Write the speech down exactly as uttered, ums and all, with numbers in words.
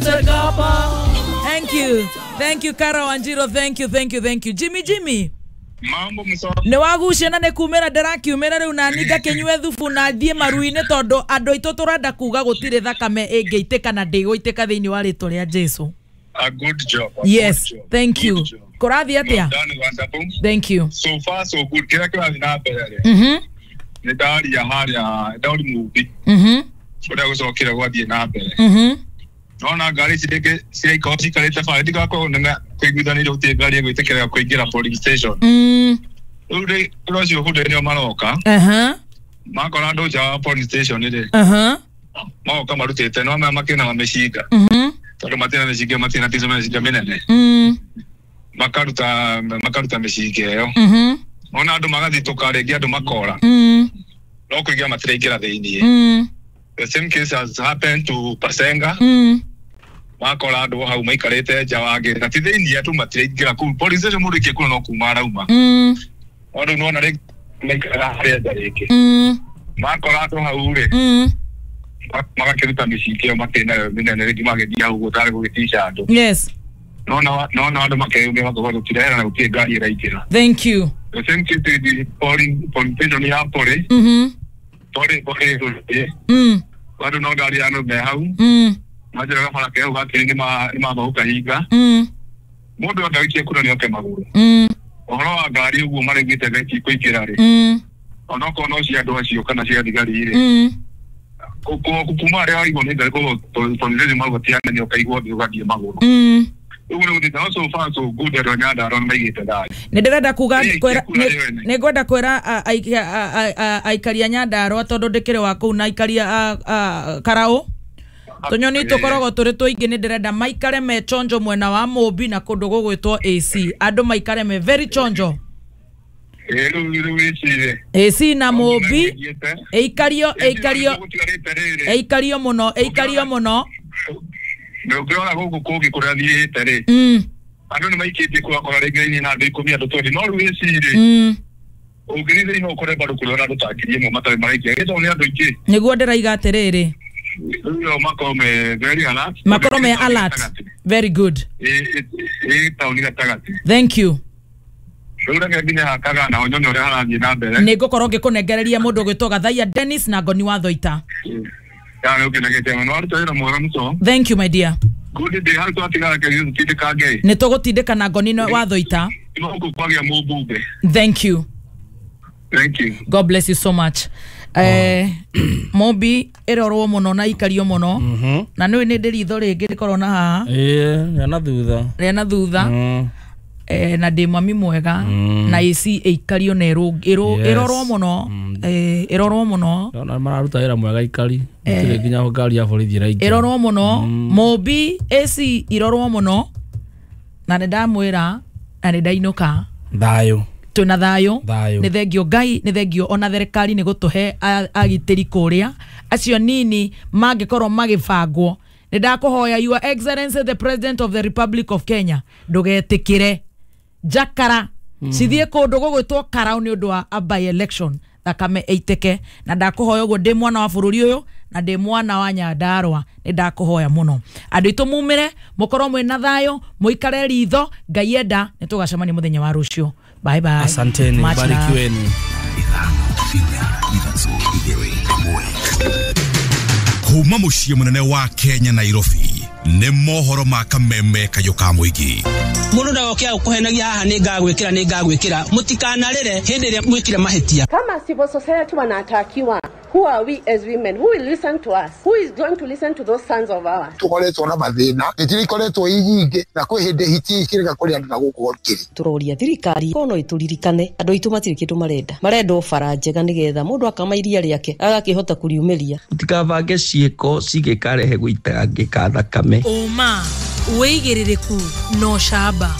Thank you. Thank you, Kara Wanjiro. Thank you, thank you, thank you. Jimmy, Jimmy. Mambo mso. Nĩ wagucia na nĩ kumĩra ndĩrakiumĩra rĩu na niĩ ngakĩnyue thubu na thiĩ maru-inĩ tondũ andũ aitũ tũrenda kuga gũtirĩ thakame ĩngĩitĩka na ndĩgũitĩka thĩinĩ wa rĩtwa rĩa Jesu. A good job. A Yes, good job. thank Good you. job. Kũrathiĩ atĩa? Well done, wonderful. Thank you. So far so good. Kĩrĩa kĩrathiĩ na mbere rĩ. Mhm. Nĩ ndaria harĩa ndauri mũmbi. Mhm. Ũrĩa gũcokire gwathiĩ na mbere. Mhm. Nona ngari ici rĩngĩ ciraikorwo cikarĩte bara ndigakorwo nene kũiguithanĩrio gũtirĩ ngari ĩgwĩtĩkĩra kũingĩra polling station. Mm. Rĩu rĩ ũrĩa ũcio hũndĩ nĩo maroka. Aha. Makora andũ nja wa polling station rĩ. Aha. Magoka marutĩte no maya makĩna mĩcinga. Mhm. Tondũ matirĩ na mĩcinga matirĩ na tico mĩcinga mĩnene. Mm. Makaruta makaruta mĩcinga ĩyo. Mhm. Ona andũ magathitũka rĩngĩ andũ makora. Mm. No kũingĩra matiraingĩra thĩiniĩ. Mm. The same case has happened to Pasenga. Mm. Makora andũ hau maikarĩte nja wa gate na ti thĩiniĩ andũ matiraingĩra kũu police station mũndũ aikia kura no kuma arauma. Mm. Andũ nĩwona rĩngĩ maikaraga harĩa nja rĩngĩ. Mm. Makora andũ hau rĩ. Mm. Magakĩruta mĩcinga ĩyo makĩnayo mĩnene rĩngĩ magĩthiĩ hau ũguo tarĩ gũgĩtica andũ. Yes. Nona nona andũ makeyumia makoiga gũtirehera na gũtirĩ ngari ĩraingĩra. Thank you. The same case with the polling polling station ya Pori. Mhm. Pori Pori. Mm. Andũ no ngari ya andũ me hau. Mm. Manjĩraga bara ke hau gakĩrĩ nĩ mamba gũkahinga. Mm. Mũndũ wothe ũikie kura nĩ oke magũrũ. Mm. Ũhoro wa ngari ũguo maregete thaa ici kũingĩra rĩ. Mm. Onokorwo no cia andũ acio kana cia thigari rĩ. Mm. Kuma harĩa waigwo nĩ ngari koguo polling magũtiana nĩ ũkaigwo thĩ ũgathiĩ magũrũ. Mm. Ũguo nĩ gũthiĩte no so far so good andũ a Nyandarua nĩ maigĩte thayũ. Nĩ ndĩrenda kuga Ĩ, kwĩra kura ĩyo ene. nĩ ngwenda kwĩra aikari a Nyandarua tondũ ndĩkĩrĩ wa kũu na aikari a Karaũ tũnyoni tũkoragwo tũrĩ tũingĩ nĩ ndĩrenda maikare me chonjo mwena wa Mũmbi na kũndũ gũgwĩtwo A C andũ maikare me very chonjo. Ĩ, rĩu rĩu ĩcirĩ. A C na Mũmbi ĩikario ĩikario Gũtigarĩte rĩrĩ. ĩikario mũno ĩikario mũno. Ũngĩrora gũkũ kũngĩ kũrĩa thiĩte rĩ. Mm. Andũ nĩ maikĩtie kũrakora rĩngĩ raini na andũ ikũmi andũ twendi no rĩu ĩcirĩ. Mm. Ũngĩthiĩ thĩinĩ no ũkore bado kũrĩ ona andũ ta ngiri ĩmwe matarĩ maraikia gĩthomo nĩ andũ aingĩ. Nĩguo ndĩraiga atĩrĩrĩ. Rĩu makorwo me very alert. Makorwo me alert. Very good. Ĩ ĩ taũni gatagatĩ. Thank you. Rĩu reke nginye hakaga na nyone ũrĩa harathiĩ na mbere. Nĩ ngũkorwo ngĩkũnengereria mũndũ ũgwĩtwo Gathaia Dennis na Ngoni wa Thoita. Ya nĩ ũkenagĩte mũno waruta wĩra mwega mũno. Thank you my dear. Good day hau twatigara kĩrĩa tũtindĩkange. Nĩ tũgũtindĩka na Ngoni wa Thoita. Gũkũ kwagĩa mũmbunge. Thank you. Thank you. God bless you so much. Eh, Mobi ĩrorwo mũno na ikario mũno. Na nĩ nĩ ndĩ ritho rĩngĩ rĩkorwo na haha. Ĩĩ, rĩa na thutha. Rĩa na thutha. Eh, na ndĩ mami mwega na A C ĩikario na ĩrorwo mũno. Eh, ĩrorwo mũno. Ndona mararuta wĩra mwega ikari. Gũtirĩ nginya ngari ya borithi ĩraingĩra. Ĩrorwo mũno. Mobi A C ĩrorwo mũno. Na nĩ ndamwĩra na nĩ ndainũka. Thayũ. Twĩna thayũ. Thayũ. Nĩ thengio Ngai, nĩ thengio ona thirikari nĩ gũtũhe agitĩri kũrĩa acio nini mangĩkorwo magĩbangwo. Nĩ ndakũhoya Your Excellency the President of the Republic of Kenya ndũgetĩkĩre njakara cithiĩ kũndũ gũgwĩtwo Karau nĩ ũndũ wa a by election thakame ĩitĩke. Na ndakũhoya ũguo ndĩ mwana wa bũrũri ũyũ na ndĩ mwana wa Nyandarua nĩ ndakũhoya mũno andũ aitũ mumĩre mũkorwo mwĩna thayũ mũikare ritho Ngai enda nĩ tũgacemania mũthenya wa rũciũ. Bye bye. Asanteni, barikiweni. Kuma muciĩ mũnene wa Kenya Nairobi nĩ mohoro ma kameme kayũ ka mũingĩ. Mũndũ ndagoke agũkũhenagia haha nĩ ngagwĩkĩra nĩ ngagwĩkĩra mũtikanarĩre hĩndĩ ĩrĩa mwĩkire mahĩtia. Kama civil society wanatakiwa, who are we as women? Who will listen to us? Who is going to listen to those sons of ours? Tukoretwo na mathĩna ĩtirikoretwo ĩ nyingĩ na kwĩ hĩndĩ hiti ikĩrega kũrĩ andũ na gũkũ kĩrĩ. Tũroria thirikari kono ĩtũririkane andũ aitũ matirĩ kĩndũ marenda marenda o bara njega nĩgetha mũndũ akama iria rĩake agakĩhota kũriumĩria. Mũtikabange ciĩko cigĩkarehe gũitangĩka thakame. Ũma wĩigĩrĩrĩku no camba.